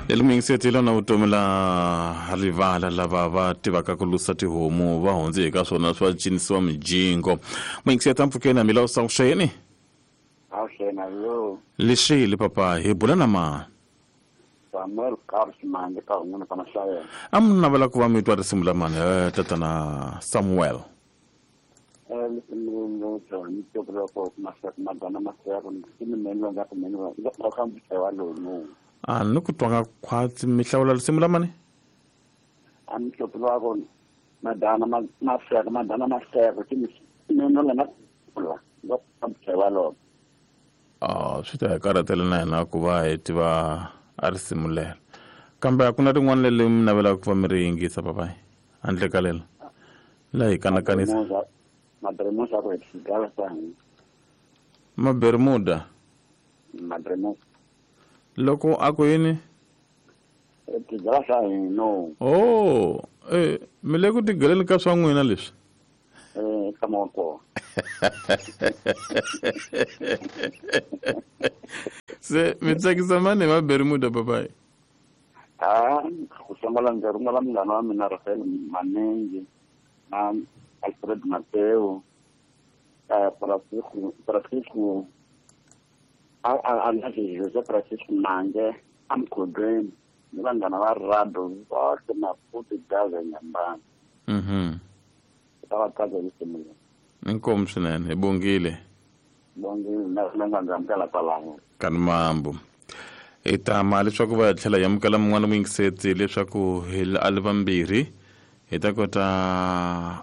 Leli muyingiseti lona vutomi la rivala lava va tivaka ku lusa tihomu va hundze hi ka swona swa cinisiwa mijingo. Muyingiseti ampfukeni hambi la usavuxeni. Avuxeni yo. Lexile papa hi bula na mani? Samuel Carlos Mande ka un'wana ka Mahlayela. A mi navela ku va mi twa risimu la mani tatana Samuel? A ni ku twanga khwatsi mi hlawula risimu la mani? A mi hlawula ku madana maseko madana maseko ti meno la na la va lo. Ah, swi ta hi karhatela na hina ku va hi tiva a risimu lero. Kambe a ku na rin'wana leri mi navelaka ku va mi ri yingisa papayi handle ka lelo la hi kanakanisa. Mabermuda ku tigala swa hina. Mabermuda. Mabermuda. Loko a ku yini? Tigala swa hina. Oh, mi le ku tigaleni ka swa n'wina leswi? Ka moko. Se mi tsakisa mani hi Mabermuda papayi? Ah, ku sungula ndzi rhumela munghana wa mina Rafael Manengi na Alfred Mateo, Francisco Jose Francisco Mange amkhodweni ni vanghana va Rado vohle Maputo Gaza Nyambana. Ta va tsaka hi risimu leri. Inkomu swinene hi bongile. Bongile na nga ndzi amukela kwalano. Kani mambo. Hi tama leswaku va tlhela hi amukela mun'wana muyingiseti leswaku hi a li vambirhi hi ta kota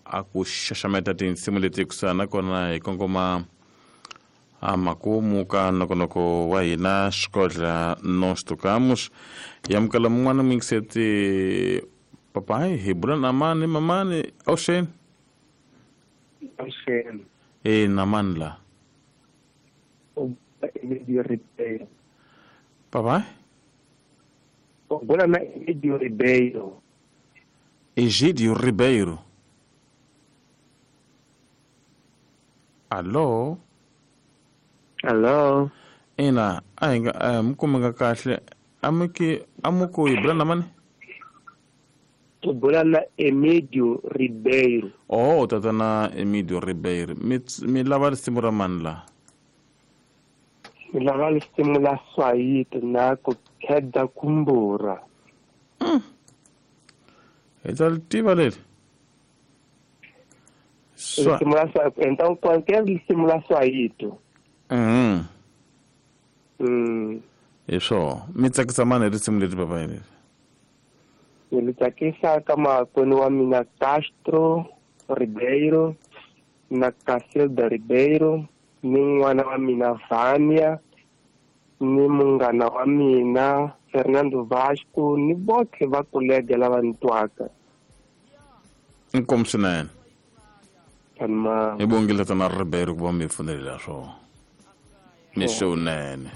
a ku xaxameta tinsimu leti kusuhana nakona hi kongoma a makumu ka nongonoko wa hina xikodla nos tocamos. Hi amukela mun'wana muyingiseti papayi hi bula na mani mamani avuxeni. Avuxeni. Na mani la? Egidio Ribeiro. Papai? U bula na Egidio Ribeiro. Egidio Ribeiro. Allo? Allo? Ina, a hi nga mi kumeka kahle. Amuki amuku hi bula na mani? U bula na Emidio Ribeiro. Oh, tatana Emidio Ribeiro. Mi lava risimu ra mani la? Mi lava risimu la Swahili na ku kheda kumbura. Hi ta tiva leri. Risimu la Swahili, então qualquer risimu la Swahili. Hi swo. Mi tsakisa mani hi risimu leri papa leri? Ni tsakisa ka makwenu wa mina Castro Ribeiro na Casilda Ribeiro ni n'wana wa mina Vania ni munghana wa mina Fernando Vasco ni botlhe va kolega lava ni twaka. Inkomu swinene. Hi bongile tatana Ribeiro ku va mi pfunelela swona. Ni xewunene.